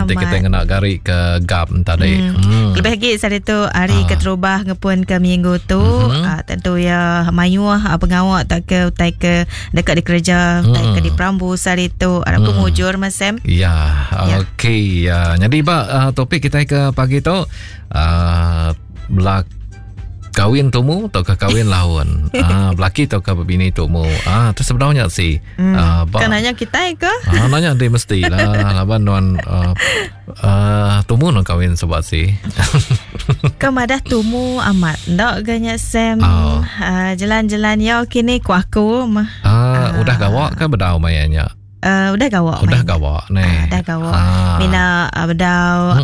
Nanti kita ngena gari ke gap tadi. Lebih lagi sehari tu hari keterubah ngepun ke minggu tu tentu ya mayuh pengawa tak ke utai ke deka dikereja utai ke diperambu sehari tu arap ke mujur mas Sam. Ya, okey. Ya. Jadi ba topik kita ke pagi tu belak kawin tumu atau ke kawin laun. Ah, belaki atau ke bini tumu. Ah, tu sebenarnya si. Ah, ba, kan nanya kita ke? Ah, nanya dia mesti lah. Laban nuan tumu nuan kawin sebab si. Ke madah tumu amat. Ndak ganya Sam. Oh. Jalan-jalan ya kini ku aku mah. Ah, udah gawak ke bedau mayanya? Udah gawak udah gawak ni. Udah gawak. Mina bedau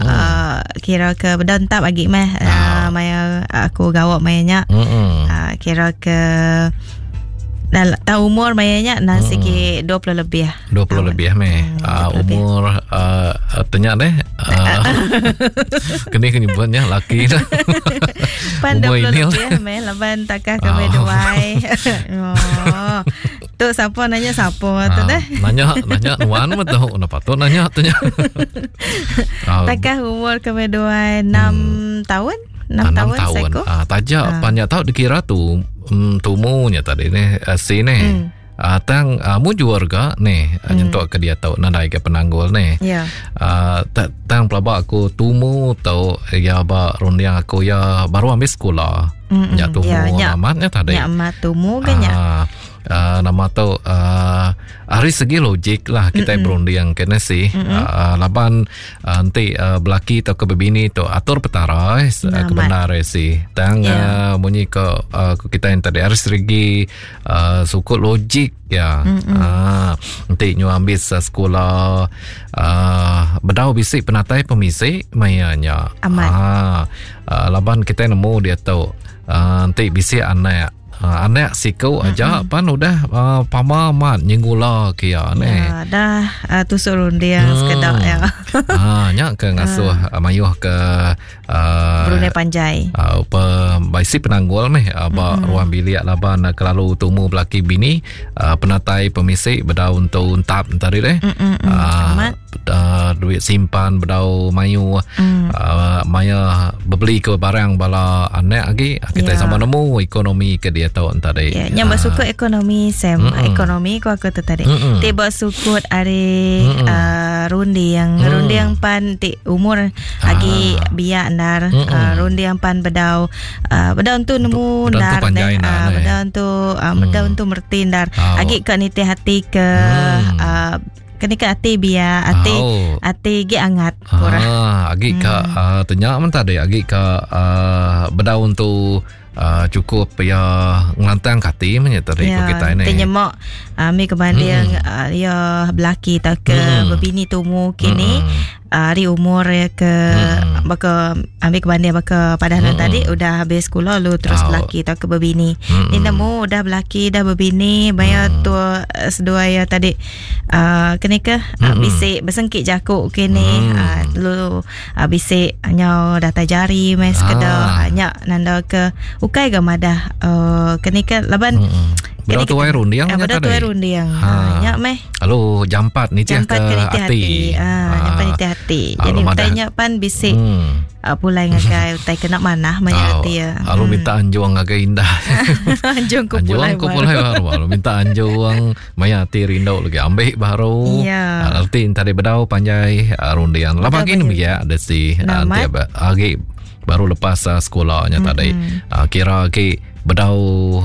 kira ke bedau entap lagi meh maya aku gawak maya nya. Kira ke dah tahu umur maya nya nah sigi 20 lebih. 20 lebih meh. Umur tanya deh. Kini ke nyebutnya laki dah. Pan 20 lebih meh laban takah ke duai. Oh. Tu siapa nanya siapa tu deh. Nanya nanya nuan mah tu. Nah patut nanya tu nya. Takah umur kami dua 6 tahun. 6 tahun tahun. Ah, taja panjang tau dikira tu tumunya tadi ni si ni. Tang mujur ga ni nyentuk ke dia tau nadai ke penanggul ni. Yeah. Tang pelaba aku tumu tau ya ba runding aku ya baru ambil sekolah. Nya tumu ya, amat nya tadi. Nya amat tumu ke nya. Nama tu ari segi logik lah kita berunding kena sih. Laban enti belaki atau ke bebini tu atur petara kebenar sih. Tang munyi ke kita yang tadi ari segi sukut logik ya. Enti nyu ambis sekolah bedau bisi penatai pemisi maya nya. Laban kita nemu dia tu enti bisi anak anak siku aja pan udah pama amat nyengula ke iya neh. Ya, dah tusuk runding sekeda ya. Nya ke ngasuh mayuh ke Berunding panjai. Pe bisi penanggul meh ba ruang bilik laban kelalu tumu belaki bini penatai pemisi bedau entu entap tadi deh. Amat. Duit simpan bedau mayuh maya bebeli ke barang bala anak lagi kita sama nemu ekonomi ke dia tu tadi. Ya, nya bersukut ekonomi Sam, ekonomi ku aku tu tadi. Ti bersukut ari runding, runding pan ti umur agi biak ndar, runding pan bedau bedau tu nemu ndar deh, bedau tu bedau tu mereti ndar. Agi ka nitih ati ke Kena ke ati biar ati oh. ati gi angat kurang. Ah, agi ka tanya men tadi agi ka bedaun tu cukup ya ngelantang ke ati men tadi ya, ko kita ni. Tanya mak mi kebanding ya belaki tak ke bebini tumu kini ari umur ya ke baka ambil kebanding baka pada mm. tadi udah habis sekolah lu terus belaki atau ke berbini. Ni nemu udah belaki dah berbini bayar tu sedua ya tadi kene ke bisi besengkit jaku kini lu bisi nyau datai jari mai sekeda nya nanda ke ukai ga madah kene ke laban Bedau tuai runding nya tadi. Bedau tuai runding. Ha nya meh. Lalu jampat nitih ke ati. Ha jampat nitih ati. Jadi utai nya pan bisi pulai ngagai utai kena manah maya ati ya. Lalu minta anjung ngagai indah. Anjung ku pulai baru. Pulai baru. Lalu minta anjung maya ati rindu lagi ambil baru. Ya. Arti tadi bedau panjai runding. Lapa agi nembiak ada si nanti agi baru lepas sekolahnya tadi. Kira agi bedau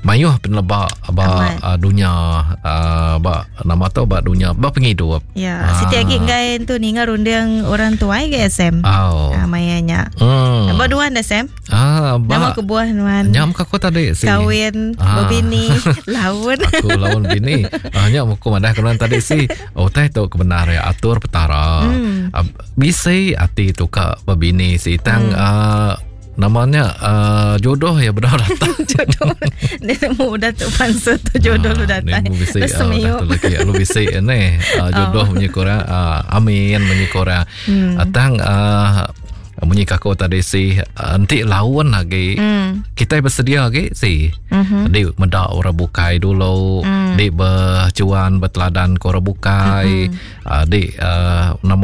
mayuh peneleba ba dunya ba nama tu ba dunya ba pengidup. Ya, siti agi enggai tu ninga runding orang tuai ke SM. Oh. Maya nya. Ba duan dah Sam. Ah, ba. Nama kebuah nuan. Nya muka aku tadi si. Kawin bebini laun. Aku laun bini. Nya muka madah ke nuan tadi si. Oh, tai tu kebenar ya atur petara. Bisi ati tu ka bebini si tang nama nya jodoh ya bedau datang. Jodoh. Dia nemu udah tu pansut tu jodoh lu datang. Nemu bisi udah tu lagi lu bisi ni jodoh munyi korang amin munyi korang. Tang munyi kako tadi si enti laun lagi kita bersedia lagi si. Di meda orang bukai dulu, di bercuan berteladan ke orang bukai, di nama